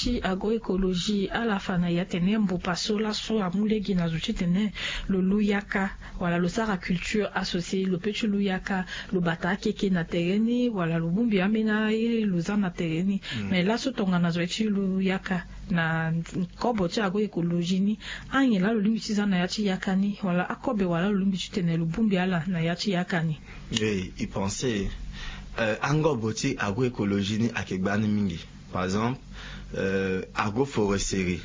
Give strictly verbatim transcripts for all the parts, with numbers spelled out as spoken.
Ti agroecologie ala fa na ya tene mbopa so laso amu lege na zo ti tene lo lu yaka wala lo sara culture associée, lo pe ti lu yaka, lo bata akeke na tere ni wala lo bongbi ambeni aye lo za na tere ni. Mais laso tongana zo ye ti lu yaka na kobo ti agroecologie ni, anyen laa lo lingbi ti za na ya ti yaka ni wala akobe wala lo lingbi ti tene lo bongbi ala na ya ti yaka ni? E, e pense, euh, angobo ti agroecologie ni ayeke gbani mingi. Par exemple, euh, agroforesterie,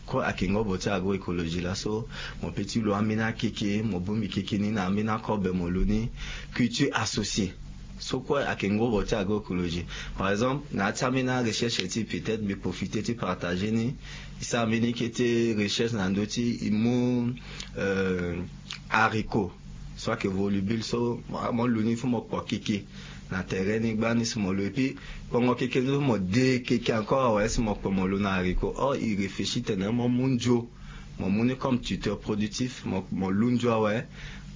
kue ayeke ngobo ti agroecologie laso. Mo pe ti lo ambeni akeke, mo bongbi keke ni na ambeni akobe, mo lo ni culture associée. So kue ayeke ngobo ti agroecologie. Par exemple, na ya ti ambeni arecherche ti, peut-être mbi profite ti partager ni. E sara mbeni kete recherche na ndö ti e mu, euh, haricot so ayeke volubile so, mo, mo lu ni, il faut mo kpo keke na tere ni gbani si mo lo. Et puis kpongo keke ni so mo de keke encore awe si mo kpo mo lo na haricot. Or e réfléchir tene mo mu nzo, mo mu ni comme tuteur productif, mo, mo lu nzo awe,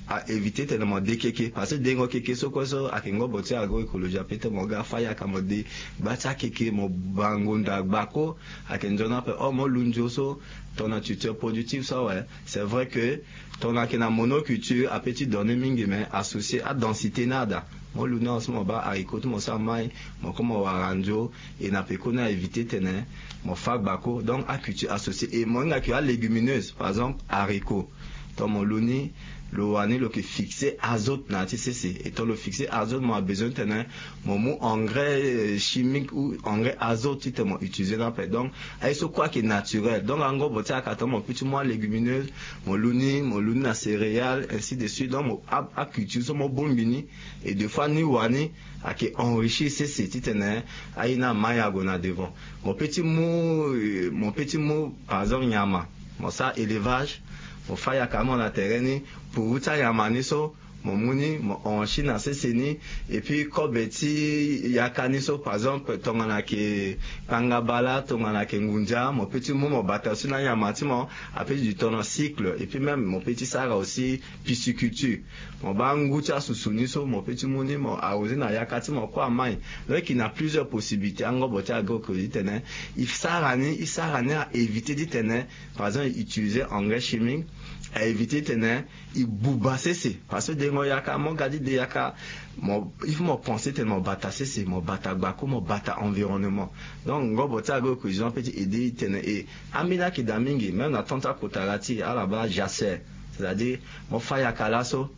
a éviter tene mo de keke. Parce que dengo keke so kue so ayeke ngobo ti agroecologie, ape ti mo ga fa yaka mo de gba ti akeke, mo bango nda gbako, ayeke nzoni ape. Or mo lu nzo so tongana tuteur productif so awe, c'est vrai que tongana ayeke na monoculture ape ti donner mingi, mais associer adensité ni ada. Mo lu ni awe so mo baa haricot ti mo so amai, mo kue mo wara nzo, e na peko ni a éviter tene mo fa gbako. Donc aculture associée, e mo hinga ke alégumineuse, par exemple haricot, tongana mo lu ni, lo wani lo yeke fixer azote na ya ti sese. E tongana lo fixer azote, mo a besoin tene mo mu engrais, euh, chimique ou engrais azote titene mo utiliser ni ape. Donc aye so kue ayeke naturel. Donc angobo ti ayaka tongana mo pe ti mu alégumineuse, mo lu ni, mo lu ni na céréales, ainsi de suite. Donc mo a, aculture so mo bongbi ni, et des fois ni wani ayeke enrichir sese titene aye ni amai ague na devant. Mo pe ti mu, euh, mo pe ti mu par exemple nyama, mo sara élevage, mo fa yaka mo na tere ni, puru ti anyama ni so mo mu ni, mo enrichir na sese ni. Et puis kobe ti yaka ni so, par exemple tongana ayeke kpangabala, tongana ayeke ngunza, mo pe ti mu mo bata so na anyama ti mo, ape ti du temps na cycle. Et puis même mo pe ti sara aussi pisciculture, mo baa ngu ti asusu ni so mo pe ti mu ni mo arroser na yaka ti mo kue amai. Donc e na plusieurs possibilités. Angobo ti agroecologie tene e sara ni, e sara ni a éviter titene, par exemple, e utiliser engrais chimique, a éviter titene e buba sese. Parce que dengo yaka, mo ga ti de yaka, mo, il faut mo penser tene mo bata sese, mo bata gbako, mo bata environnement. Donc ngobo ti agroecologie pe ti aider titene e, ambeni ayeke daa mingi, même na temps ti akota la ti ala baa jachère, c'est-à-dire mo fa yaka laso,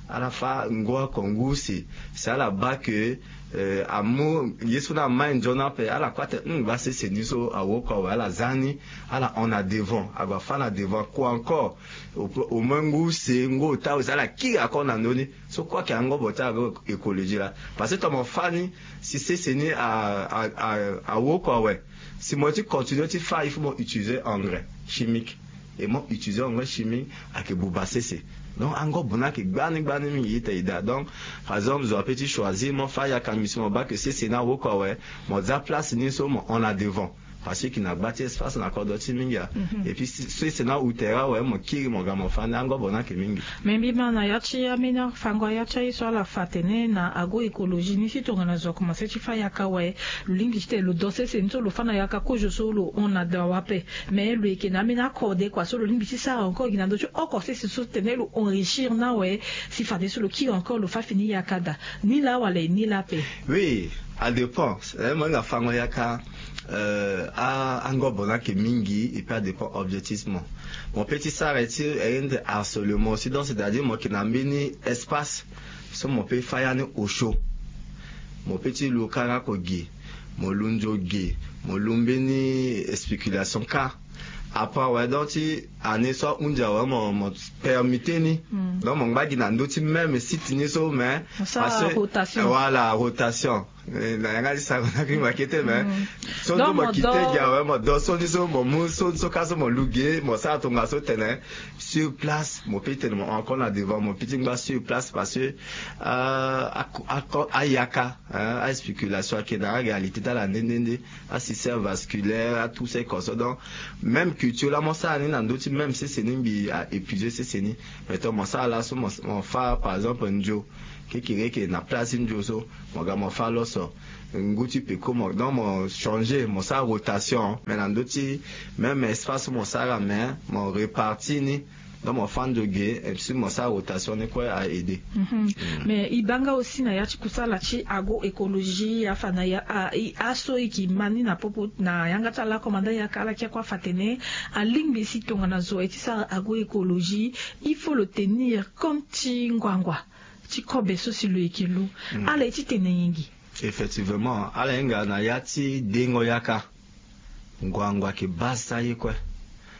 ala fa ngu oko ngu use, si ala baa ke, euh, amu ye so ni amai nzoni ape, ala kue atene, hum, baa sese ni so awoko awe, ala za ni, ala hon na devant, ague afa na devant. Kua encore, au, au moins ngu use, ngu ota use, ala kiri encore na ndö ni. So kue ayeke angobo ti agroecologie laa. Parce que tongana mo fa ni, si sese ni a, a, a, awoko awe, si mo ye ti continuer ti fa, il faut mo utiliser engrais chimique. Et mo utiliser engrais chimique ayeke buba sese. Donc angobo ni ayeke gbani gbani mingi ita e daa. Donc par exemple zo ape ti choisir, mo fa yaka ngbisi mo baa ke sese ni awoko awe, mo za place ni so mo hon na devant. Parce que e yeke na gba ti espace na kodro ti mingi a. Mhm. Et puis si, sese ni awu tere awe, mo kiri mo ga mo fa ni, angobo ni ayeke mingi. Me mbi ma na ya ti ambeni afango ya ti aye so ala fa atene na agroecologie ni, si tongana zo akomanse ti fa yaka awe, lo lingbi titene lo do sese ni so lo fa na yaka kozo so lo hon na devant ape. Mais lo yeke na ambeni akode kua so lo lingbi ti sara encore gi na ndö ti oko sese so tene lo enrichir ni awe, si fadeso lo kiri encore lo fa fini yaka daa. Ni laa wala e ni laa ape? Oui, a dépend. Eh, mo hinga fango yaka, euh, a, angobo ni ayeke mingi, et puis a dépend objectif ti mo. Mo pe ti sara ye ti, eh, harcèlement aussi, donc c'est-à-dire mo yeke na mbeni espace so mo pe fa ya ni osio. Mo pe ti lu kara oko ge, mo lu nzo ge, mo lu mbeni spéculation kâ. Après awe, donc ti année so ahunzi awe, mo, mo permuter ni. Mm. Donc mo ngba gi na ndö ti même site ni so, mais mo sara rotation. Voilà, rotation. Eh, na yanga ti sara na kiri makete, mais so nde mo kite gi awe, mo do so ni so, mo mu so, so kâ so mo lu ge, mo sara tongaso tene sur place, mo pe tene mo encore na devant, mo pe ti ngba sur place parce que, euh, a, a, a yaka, hein, a spéculation ayeke na aréalité ti ala nde nde nde, a système vasculaire, a tout ce qu'on sait. Donc même culture laa mo sara ni na ndö ti même sese ni, mbi a épuiser sese ni. Mais tongana mo sara laso, mo, mo fa par exemple nzo, Kekere eke na place ti nzo so mo ga mo fâ loso. Ngu ti peko mo, donc mo changer, mo sara rotation. Mais na ndö ti même espace so mo sara, mais mo répartir ni. Donc mo fâ nzo ge, et puis mo sara rotation ni kue a aider. Mais e baa nga aussi na ya ti kusala ti agroécologie, afa na ya, a, e, aso e yeke ma ni na popo na yanga ti ala, commandant yaka, ala kia kue afa atene alingbi si tongana zo aye ti sara agroécologie, il faut lo tenir compte ti nguangua ti kobe so si lo yeke lu. Ala ye ti tene nyen gi? Effectivement, ala hinga na ya ti dengo yaka. Nguangua ayeke base ti aye kue.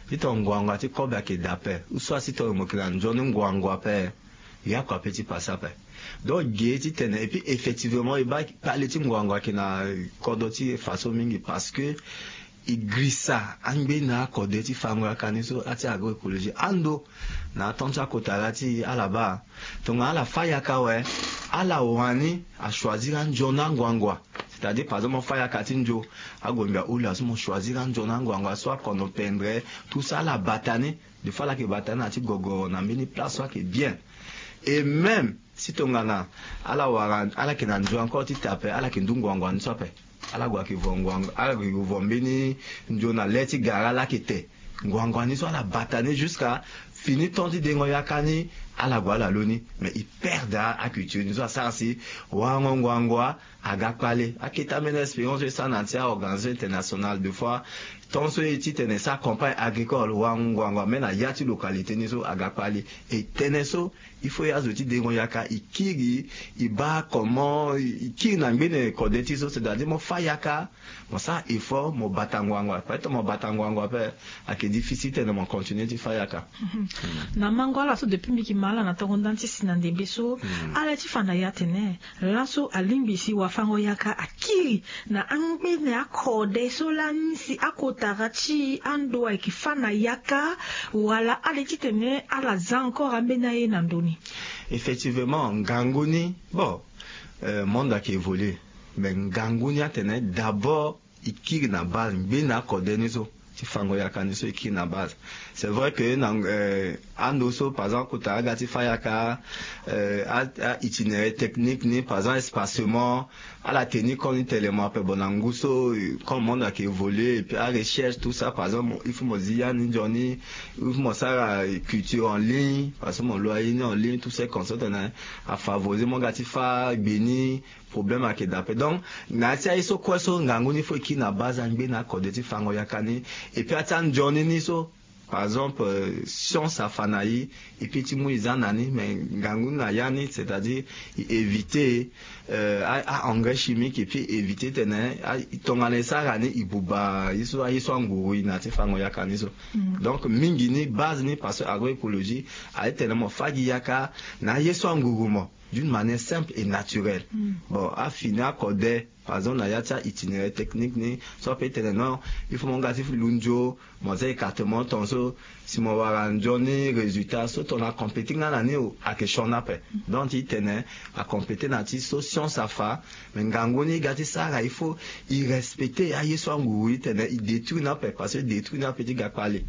Titene nguangua ti kobe ayeke daa ape, ou soit titene mo yeke na nzoni nguangua ape, ya kua pe ti pase ape. Donc ge titene, et puis effectivement e baa kpale ti nguangua ayeke na kodro ti e faso mingi, parce que e girisa angbeni akode ti fango yaka ni so, a ti agroécologie. Ando na atanti akota la ti e, ala baa tongana ala fâ yaka awe, ala wani achoisir anzoni anguangua. C'est-à-dire par exemple mo fâ yaka ti nzo, agombi ahula so mo choisir anzoni anguangua so akono pendre, tout ça ala bata ni. Des fois ala yeke bata ni na ti gogoro na mbeni place so ayeke bien. Et même si tongana ala wara, ala yeke na nzo encore ti te ape, ala yeke ndu nguangua ni so ape. Ala gue ayeke vo nguangua, ala gue vo mbeni nzo na le ti gara ala yeke te. Nguangua ni so ala bata ni jusqu'à fini temps ti dengo yaka ni, ala gue ala lo ni. Mais e perdre aculture ni so asara si warango nguangua aga kpale. Akete ambeni expérience so e sara na ya ti aorganisation internationale, des fois tant so e ye titene e sara campagne agricole, warango nguangua même na ya ti localité ni so aga kpale. E tene so il faut azo ti dengo yaka e kiri, e baa comment e kiri na ngbene kode ti e so, c'est-à-dire mo fâ yaka, mo sara effort, mo bata nguangua. Peut-être mo bata nguangua ape, ayeke difficile titene mo continuer ti fâ yaka. Na mango ala so depuis mbi yeke ma ala na tongo ndani ti si na ndembe so, ala ye ti fa na e atene laso alingbi si wafango yaka akiri na angbene akode so lani si akotara ti ando ayeke fâ na yaka, wala ala ye titene ala za encore ambeni aye na ndö ni? Effectivement, ngangu ni, bon, euh, monde ayeke évoluer. Mais ngangu ni atene d'abord e kiri na base, ngbene akode ni so ti fango yaka ni so e kiri na base. C'est vrai que na, euh, ando so par exemple kota aga ti fâ yaka, euh, a, a itinéraire technique ni, par exemple espacement, ala tenir compte ni tellement ape. Bon, na ngu so, euh, comme monde ayeke évoluer, et puis arecherche tout ça, par exemple il faut mo zi ya ni nzoni, il faut mo sara, euh, culture en ligne, parce que mo lo aye ni en ligne, tout ça comme ça tene afavoriser mo ga ti fâ gbe ni, problème ayeke daa ape. Donc na ya ti aye so kue so ngangu ni faut e kiri na base angbene akode ti fango yaka ni. Et puis a ti anzoni ni so, par exemple, euh, science afa na e, e peut ti mu e za na ni, mais ngangu ni na ya ni, c'est-à-dire e éviter, euh, a, a engrais chimique, et puis éviter tene a, tongana e sara ni e buba ye so, aye so anguru e na ya ti fango yaka ni so. Donc mingi ni base ni, parce que agroécologie aye tene mo fâ gi yaka na aye so anguru mo d'une manière simple et naturelle. Bon, afini akode, par exemple na ya ti a itinéraire technique ni so ape e tene non, il faut mo nga ti lu nzo, mo za écartement tonso, si mo wara nzoni résultat so tongana compéter nga na ni o, ayeke sioni ape. Donc ti tene acompéter na ti so science afa. Mais ngangu ni e ga ti sara, il faut e respecter aye so anguru e tene e détruire ni ape, parce que détruire ni ape ti ga kpale.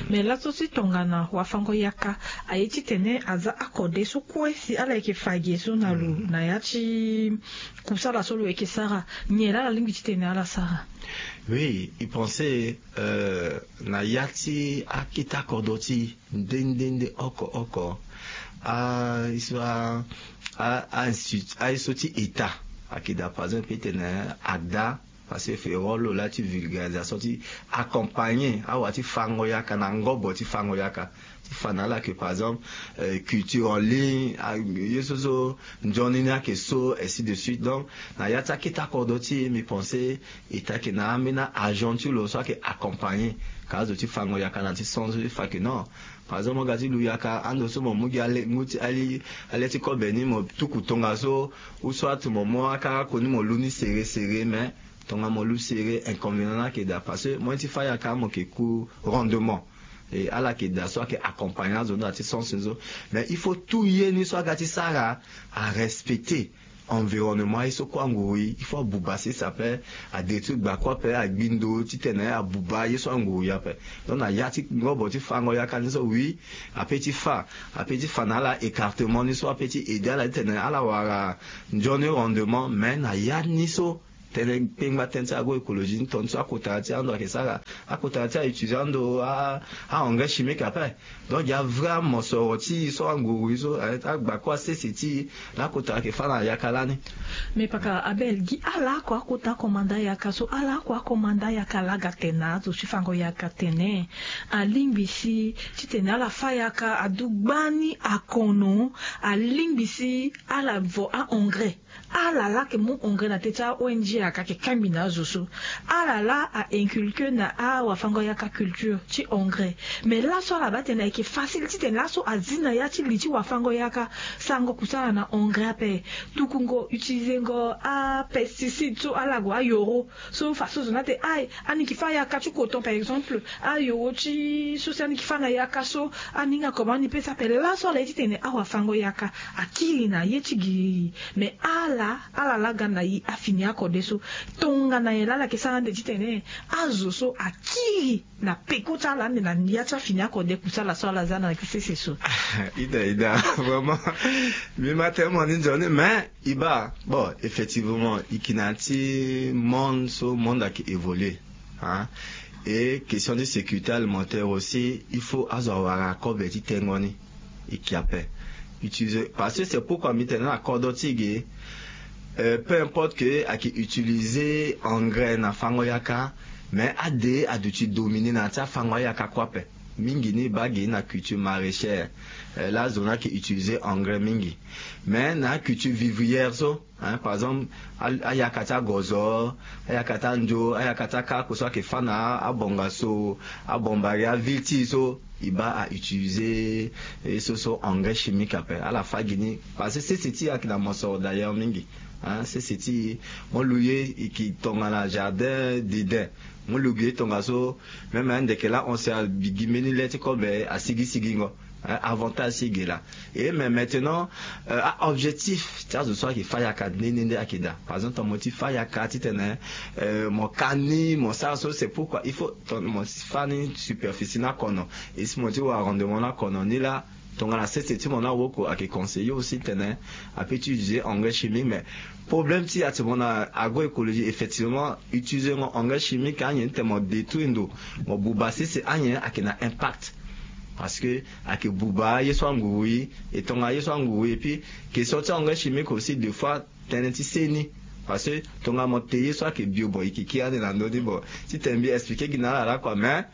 Mais laso si tongana wafango yaka aye titene aza akode so kue si ala yeke fa gi so na lo na ya ti kusala so lo yeke sara, nyen laa ala lingbi titene ala sara? Oui, e pense, euh, na ya ti akete akodro ti e nde nde nde oko oko, a, e so a, a, a institu, aye so ti état ayeke daa, par exemple e tene AGDA, parce que e fait rôle lo laa ti vulgarisation ti accompagner awa ti fango yaka na ngobo ti fango yaka, ti fa na ala que par exemple, euh, culture en ligne, a, ye so so nzoni ni ayeke so, ainsi de suite. Donc na ya ti akete akodro ti e, mbi pense état ayeke na ambeni agent ti lo so ayeke accompagner ka azo ti fango yaka na ti sens so ti fa que non, par exemple mo ga ti lu yaka, ando so mo mu gi ale ngu ti ali, ale ti kobe ni mo tuku tongaso, ou soit mo mu akara koni mo lu ni serré serré, mais tongana mo lu serré, inconvénient ni ayeke daa, parce que mo ye ti fâ yaka mo yeke ku rendement. E ala yeke daa so ayeke accompagner azo ni na ti sens so. Mais il faut tout ye ni so aga ti sara arespecter environnement ye so kue anguru ye il faut abuba sese ape. Adétruire gbakua ape, agbi ndo titene abuba ye so anguru ye ape. Donc na ya ti ngobo ti fango yaka ni so oui, ape ti fa ape ti fa na ala écartement ni so ape ti aider ala titene ala wara nzoni rendement. Mais na ya ni so tënë kpengba tënë ti agroécologie ni tonga so akota ti ando ayeke sara, akota ti autiliser ando a engrais chimique ape. Donc ya vrai amosoro ti e so anguru ye so agbakua sese ti e lakota ayeke fa na yaka lani. Mais paka abel gi ala oko akota komanda yaka so ala oko akomanda yaka laga tene na azo ti fango yaka tene alingbi si titene ala fa yaka adu gbani akono. Alingbi si ala vo a engrais ala laa ayeke mu engrais na teti a-ong aka ayeke kangbi na azo so. Ala laa a-inculquer na awafango yaka culture ti engrais. Mais laso ala baa tene ayeke facile titene laso azi na ya ti li ti wafango yaka. Sarango kusala na engrais ape. Tukungo utiliser ngo apesticide so ala gue ayoro so façon zo ni ate aye ani yeke fa yaka ti coton par exemple. Ayoro ti so si ani yeke fa na yaka so ani hinga comment ani pesa ape laso ala ye titene awafango yaka akiri na ye ti giri. Mais ala ala laa ga na e afini akode so tongana nyen laa ala yeke sara ande titene azo so akiri na peko ti ala ande na ya ti afini akode kusala so ala za na sese so. Ida ida vraiment. Mbi ma tene mo ni nzoni mais e baa bon effectivement e yeke na ya ti monde so monde ayeke évoluer. Hein? Et question ti sécurité alimentaire aussi il faut azo awara kobe ti tengo ni. E yeke ape utiliser parce que c'est pourquoi mbi tene na kodro ti e ge. Euh, peu importe que ayeke utiliser engrais na fango yaka mais ade aduti dominer na ya ti afango ayaka kue ape. Mingi ni e baa ge na culture maraîchère. Euh, laa zo ni ayeke utiliser engrais mingi. Mais na aculture vivrière so hein, par exemple ayaka ti agozo, ayaka ti anzo, ayaka ti akako so ayeke fa na abongaso, abombari aville ti e so e baa autiliser ye so so engrais chimique ape ala fa gi ni. Parce que sese ti e ayeke na mosoro d'ailleurs mingi. Hein, sese ti e mo lu ye e yeke tongana jardin dedin. Mo lu gi ye tongaso même ande yeke laa on se abi gi mbeni le ti kobe asigi sigingo. Avantage ti e ge laa. Et mais maintenant a-objectif ti azo so ayeke fa yaka nde nde nde ayeke daa par exemple tongana mo ti fa yaka titene mo ka ni mo sara so c'est pourquoi il faut tongana mo ti fa ni superficie ni akono. Et si mo ti wara rendement ni akono ni laa tongana sese ti mo ni awoko ayeke conseiller aussi titene ape ti utiliser engrais chimique mais problème ti e ati mo na agroécologie effectivement utiliser ngo engrais chimique anyen titene mo détruire ndo mo buba sese anyen ayeke na impact. Parce que ayeke buba ye so anguru ye. E tongana ye so anguru ye et puis question ti engrais chimique aussi de fois tënë ti se ni. Parce que tongana mo te ye so ayeke bio bon e yeke kiri ande na ndö ni bon titene mbi expliquer gi na ala laa kua mais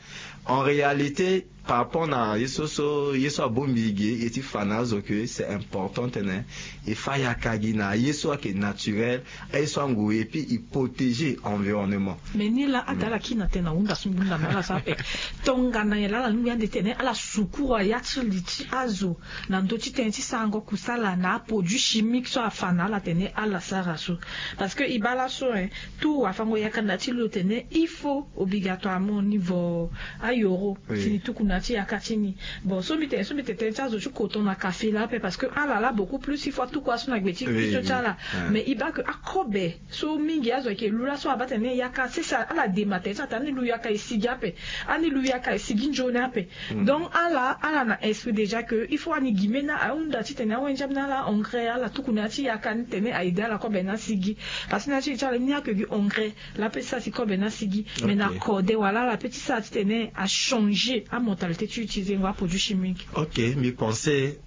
en réalité par rapport na ye so so ye so abongbi e ge e ti fa na azo ke c'est important titene e fa yaka gi na ye so ayeke naturel. Aye so anguru et puis e protéger environnement. Mais ni laa ada ala kiri na tënë na hunda so mbi hunda na ala so ape. Tongana nyen laa ala lingbi ande titene ala sukura ya ti li ti azo na ndö ti tënë ti sarango kusala na aproduit chimique so afa na ala tene ala sara so. Parce que e baa laso hein, tout wafango yaka na ya ti lo tene il faut obligatoirement ni vo ayoro si ni tuku na ya ti yaka ti ni. Bon so mbi tene so mbi tene tënë ti azo ti coton na café laa ape parce que ala laa beaucoup plus il faut atuku aso na gbe ti kpito ti ala. Mais e baa ke akobe so mingi azo ayeke lu laso abaa tene yaka sese ala dema tene ti atene ani lu yaka e sigi ape. Ani lu yaka e sigi nzoni ape. Donc ala ala na esprit déjà ke il faut ani gi mbeni ahunda titene awenze ambeni ala engrais ala tuku na ya ti yaka ni tene a aider ala kobe ni asigi. Parce que na ya ti li ti ala ni ayeke gi engrais laa pe ti sara si kobe ni asigi. Mais na kode wala ala pe ti sara titene achanger amentalité ti utiliser ngo aproduit chimique. Ok mbi pense e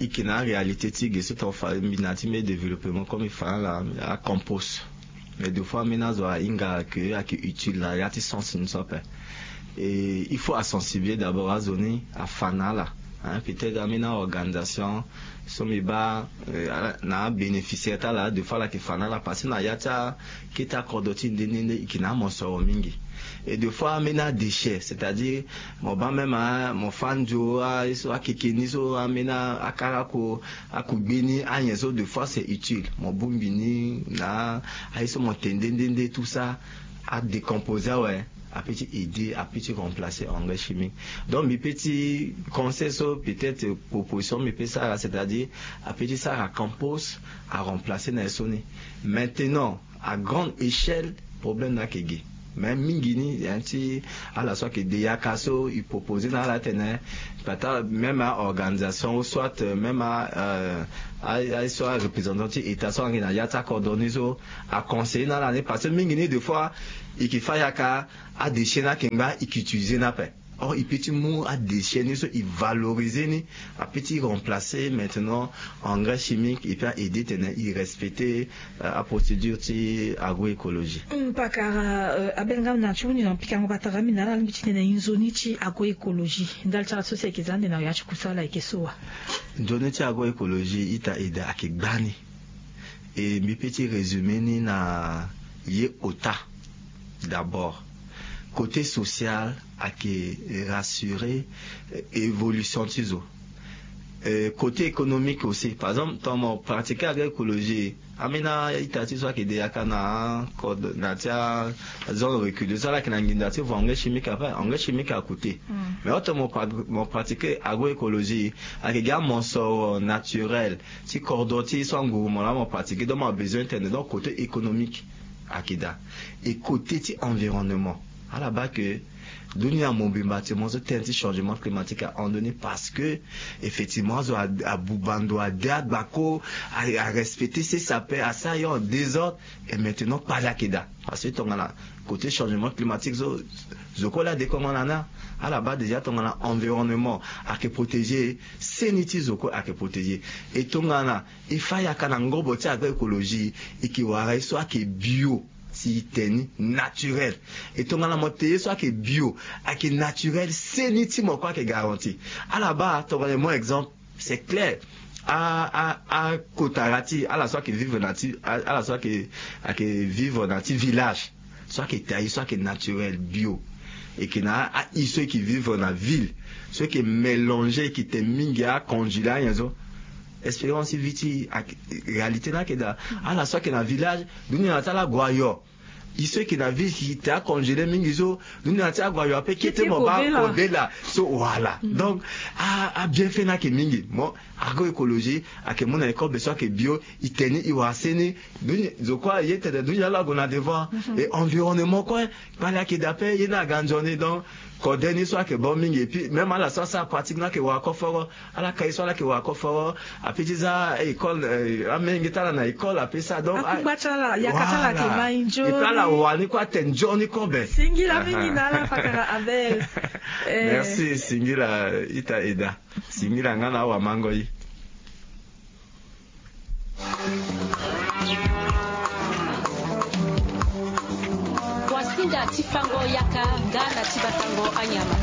yeke na aréalité ti ge so tonga fa mbi na ya ti mbeni développement comme e fa na ala acompost. Mais de fois ambeni azo ahinga ke ayeke utile na ya ti sens ni so ape. Et il faut asensibiliser d'abord azo ni afa na ala. Hein, peut-être ambeni aorganisation so mbi baa na abénéficiaire ti ala de fois ala yeke fa na ala parce que na ya ti akete akodro ti e nde nde nde e yeke na amosoro mingi. Et de fois ambeni adéchet c'est-à-dire mo baa même mo fa nzo aye so akeke ni so ambeni akara ako akugbe ni anyen so de fois c'est utile mo bongbi ni na aye so mo te nde nde nde tout ça adécomposer awe. ape ti aider, ape ti remplacer engrais chimique. Donc mbi pe ti conseil so, peut-être proposition mbi pe sara, c'est-à-dire ape ti sara compost, aremplacer na ye so ni. Maintenant à grande échelle, problème ni ayeke ge. Mais mingi ni, hein, ti ala so ayeke de yaka so e proposer na ala atene, peut-être même a organisation ou soit même a, euh, a, a so a représentant ti état so ayeke na ya ti acordonné so aconseiller na ala ni, parce que mingi ni des fois e ke fa yaka, adéchet ni ayeke ngba, e ke utiliser ni ape. Or e pe ti mu adéchet ni so, e valoriser ni, ape ti remplacer maintenant engrais chimique, et puis a aider tene e respecter, euh, aprocédure ti agroécologie. Pakara, euh, Abel, nga na ti huni na pikango patara mbi na ala lingbi ti tene e nzoni ti agroécologie, ndali ti ala so si ayeke za ande na ya ti kusala ayeke so wa? Nzoni ti agroécologie, ita, eda, ayeke gbani. E mbi pe ti résumer ni na ye ota. D'abord, côté social ayeke rassurer, euh, évolution ti zo. Euh, côté économique aussi, par exemple tongana mo pratiquer agroécologie, ambeni a-ita ti so ayeke de yaka na acode na ti azone reculée so, ala yeke na nginza ti vo engrais chimique ape. Engrais chimique acoûté. Mais otongana mo pra-, mo pratiquer agroécologie, ayeke gi amosoro naturel ti kodro ti so anguru mo laa mo pratiquer, donc mo besoin ti tene. Donc côté économique ayeke daa. Et côté ti environnement, ala baa ke dunia mobimba ti mo so, tënë ti changement climatique ahon ni, parce que effectivement azo abuba ndo, ade agbako, arespecter ses sapeurs, asara ye en désordre. Et maintenant kpale ayeke daa, parce que tongana côté changement climatique so, zo kue laa adekongo na ni. Ala baa déjà tongana environnement ayeke protéger, seni ti zo kue ayeke protéger. Et tongana e fa yaka na ngobo ti agroécologie, e ke wara ye so ayeke bio, si e te ni naturel. Et tongana mo te ye so ayeke bio, ayeke naturel, seni ti mo kue ayeke garanti. Ala baa tongana mo exemple, c'est clair, a, a, akotara ti ala so ayeke vivre na ti, a, ala so ayeke, ayeke vivre na ti village, so ayeke taillé, so ayeke naturel, bio, e ke na a, a-i so e ke vivre na ville, so e ke mélanger, e ke te mingi acongelé anyen so. Expérience ti vie ti, réalité ni ayeke daa. Ala so ayeke na village, dunia na ti ala ague ayo. I so e ke na ville, e ke te acongelé mingi so, dunia na ti ala ague ayo ape, kete mo baa kobela so, voilà. Donc a, abienfait ni ayeke mingi. Mo, agroécologie ayeke mu na e kobe so ayeke bio, e te ni, e wara seni. Dunia, zo kue aye tene dunia lo ague na devant. Et environnement kue, kpale ayeke daa ape, ye ni aga nzoni. Donc kode ni so ayeke bon mingi. Et puis même ala so asara pratique ni ayeke wara koforo. Ala kai so ala yeke wara koforo, ape ti za école, eh, amenge ti ala na école ape sara. Donc akungba ti ala, yaka ti ala ayeke mai nzoni. Et puis ala wani kue ate nzoni kobe. Singila mingi na ala pakara Abel. Eh. Merci, singila ita eda. Singila nga na awamango ye. Wasinga ti fango yaka nga na ti batango anyama.